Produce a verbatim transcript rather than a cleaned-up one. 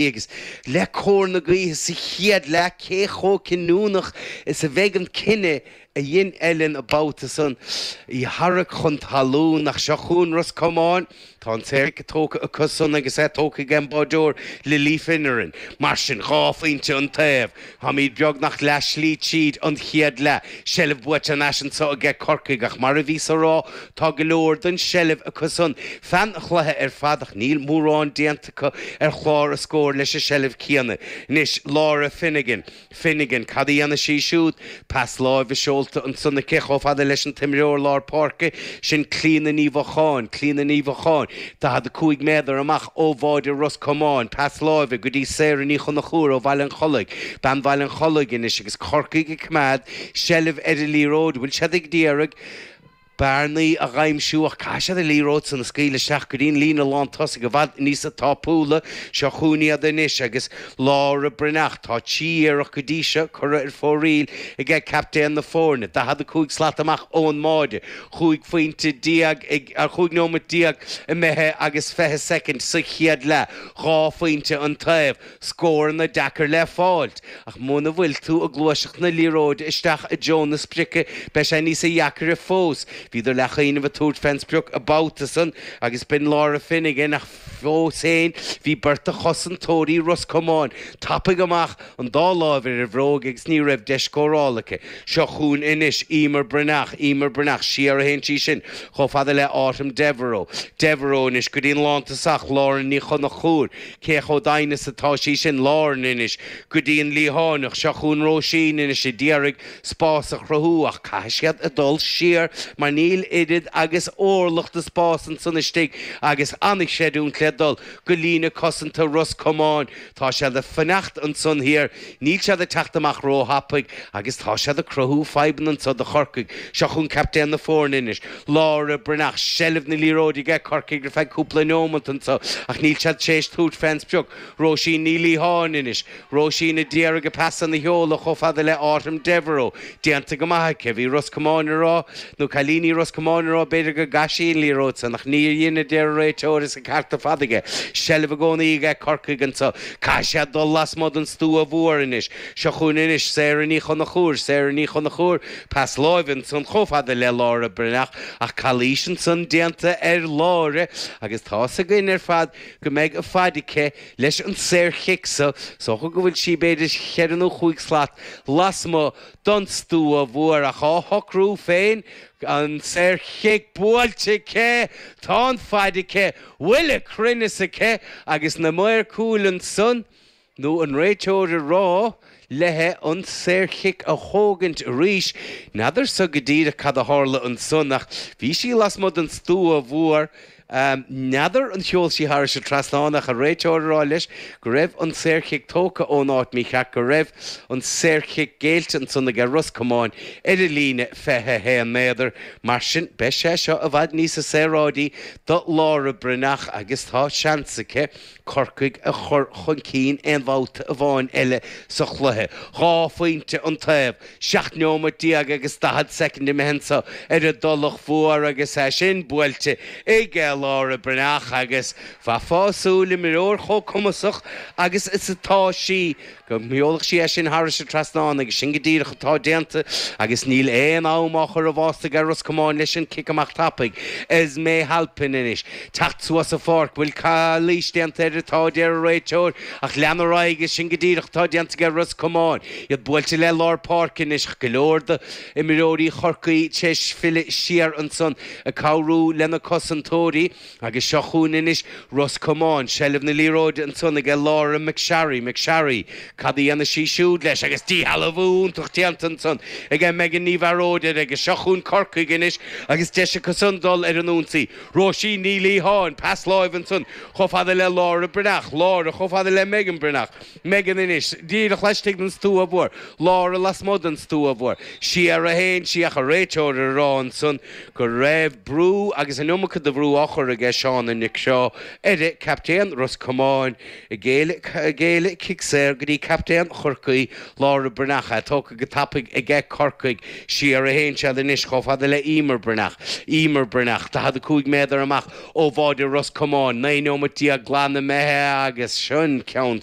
Agus le cóir na gaoithe sa chéad leath, cé chomh cinniúnach is a bheidh an cinneadh a dhein Ellen an babhta san í tharrac chun talún? Ach seo chugainn Ros Comáin. Tá an saorchic tógtha acu san agus é tógtha ag an báideoir Lily Finneran. Mar sin, dhá phointe an taobh. Táimid beagnach leath slí tríd an chéad leath. Seilbh buaite an ais anseo aige Corcaigh, ach mar a bhíos a rá, tá go leor den seilbh acu san feadh an chluiche ar fad, ach níl mórán déanta acu ar chlár a scóir leis an seilbh céanna. Anois Laura Finnegan. Finnegan, cad a dhéanfaidh sí siúd? Pas láimhe seolta ansan aici chomh fada leis an t-imreoir lár páirce sin, Clíona Ní Mhocháin. Clíona Ní Mhocháin, daichead a cúig méadar amach ó bháide Ros Comáin. Pas láimhe go dtí Sarah Ní Chonchúir ó Bhaile an Chollaigh. Bean Bhaile an Chollaigh anois agus Corcaigh ag coimeád seilbh ar an liathróid. Bhfuil siad ag iarraidh bearnaí a aimsiú? Ach caithfidh siad an liathróid san a scaoileadh isteach go dtí an líne lán tosaigh i bhfad níosa tapúla. Seo chugainn iad anois agus Laura Breathnach. Tá trí iarracht go dtí seo curtha ar fóraoil aige captaen na foirne. Daichead a cúig slat amach ón mbáide. Chúig phointe déag ag ar chúig nóiméad déag imithe agus fiche soicind sa chéad leath. Dhá phointe an taobh. Scóranna deacair le fáilt, ach muna bhfuil tú ag gluaiseacht na liathróide isteach i dtreo na sprice, beidh sé níosa dheacair fós. Bhíodar le chaoineh a tabhairt fén sprioc an babhta san agus b'in Laura Finnegan, ach fós féin bhí beirt de chosantóirí Ros Comáin tapaidh amach, an dá láimh ar a bhróig, agus ní raibh deis scórála aici. Seo chugainn anois Emer Breathnach. Emer Breathnach, siar a théann sí sin chomh fada le Autumn Devereux. Devereux anois go dtí an lántosach Lauren Ní Chonchúir. Cé chomh doimhin is atá sí sin? Lauren anois go dtí an liathánach. Seo chugainn Róisín anois ag iarraidh spás a chruthú, ach caithfidh siad a dul siar mar níl oiread agus orlach de spás ansan istigh agus an-chreidiúint le dul go líne cosanta Ros Comáin. Tá siad ag fanacht ansan thiar, níl siad ag teacht amach róthapaidh agus tá siad ag cruthú fadhbanna anso do Chorcaigh. Seo chugainn captaen na foirne anois, Laura Breathnach. Seilbh na liathróide aige Corcaigh ar feadh cúpla nóiméad anso, ach níl siad tar éis tabhairt fén sprioc. Róisín Ní Liatháin anois. Róisín ag iarraidh a pasanna a sheoladh chomh fada le Autumn Devereux. Déanta go maith aici. Bhí Ros Comáin a rá, nó cailíní Ros Comáin a rá, b'fhéidir go gcaith sí an liathróid san, ach níor dhein, a deir an réiteoir, is an ceart ar fad aige. Seilbh i gcónaí aige Corcaigh anso. Caithfidh siad dul lasmuigh den stua mhór anois. Seo chugainn anois Sarah Ní Chonchúir. Sarah Ní Chonchúir, pas láimhe ansan chomh fada le Laura Breathnach, ach calaois ansan déanta ar Laura agus tá's againn ar fad go mbeidh a faid aici leis an saorchic so. Is dócha go bhfuil sí b'fhéidir cheithre nó chúig slat lasmuigh don stua mhór, ach á shocrú féin. An saorchic buailte aici. Tá an faid aici, bhfuil a cruinneas aici? Agus na maoir cúil ansan, nó an réiteoir a rá léi an saorchic a thógaint arís. N'fheadarsa go díreach cad a tharla ansan, ach bhí sí lasmuigh den stua mhór. N'fheadar an sheol sí thairis an trasnán, ach an réiteoir a rá leis go raibh an saorchic tógtha ón áit mícheart, go raibh an saorchic géillte ansan aige Ros Comáin ar an líne fiche a haon méadar. Mar sin, beidh sé seo i bhfad níosa saoráidí do Laura Breathnach agus tá seans aici Corcaigh a chur chun cinn aon bhabhta amháin eile sa chluiche. Dhá phointe an taobh, seacht nóiméad déag agus daichead soicind imithe anso ar an dTulach Mhór agus é sin buailte ag Laura Breathnach, agus bheifeá ag súil, imreoir chomh cumasach agus is atá sí, go mbeolach sí é sin thairis an trasnán, agus sin go díreach atá déanta agus níl aon am á chur i bhfásta ar Ros Comáin leis an cic amach tapaidh. Esme Halpin anois teacht suas an pháirc. Bhfuil calaois déanta uirthi? Tá, a deir an réiteoir, ach lean ar aghaidh, sin go díreach atá déanta ag Ros Comáin. Iad buailte le lár páirce anois, go leor de imreoirí Chorcaí tar éis filleadh siar ansan ag cabhrú lena cosantóirí, agus seo chugainn anois Ros Comáin. Seilbh na liathróide ansan ag Laura McSharry. McSharry, cad a dhéanfaidh sí siúd leis? Agus díshealbhú iontach déanta ansan ag Megan Ní Bhearóid, agus seo chugainn Corcaigh anois agus deis acu san dul ar an ionsaí. Róisín Ní Liatháin, pas láimhe ansan chomh fada le Laura Breathnach. Laura chomh fada le Megan Breathnach. Megan anois díreach laistigh den stua mhór. Laura lasmuigh den stua mhór. Siar a théann sí, ach an réiteoir a rá ansan go raibh brú agus an iomarca de bhrú á chur curtha aige Seán Nic seo ar captaen Ros Comáin ag géilleadh cic saor go dtí captaen Chorcaí Lára Breathnach tógtha go tapaidh aige Corcaigh siar a théann siad anois chomh fada le Emer Breathnach Emer Breathnach daichead a cúig méadar amach ó bháide Ros Comáin naoi nóiméad déag glan imithe agus sin ceann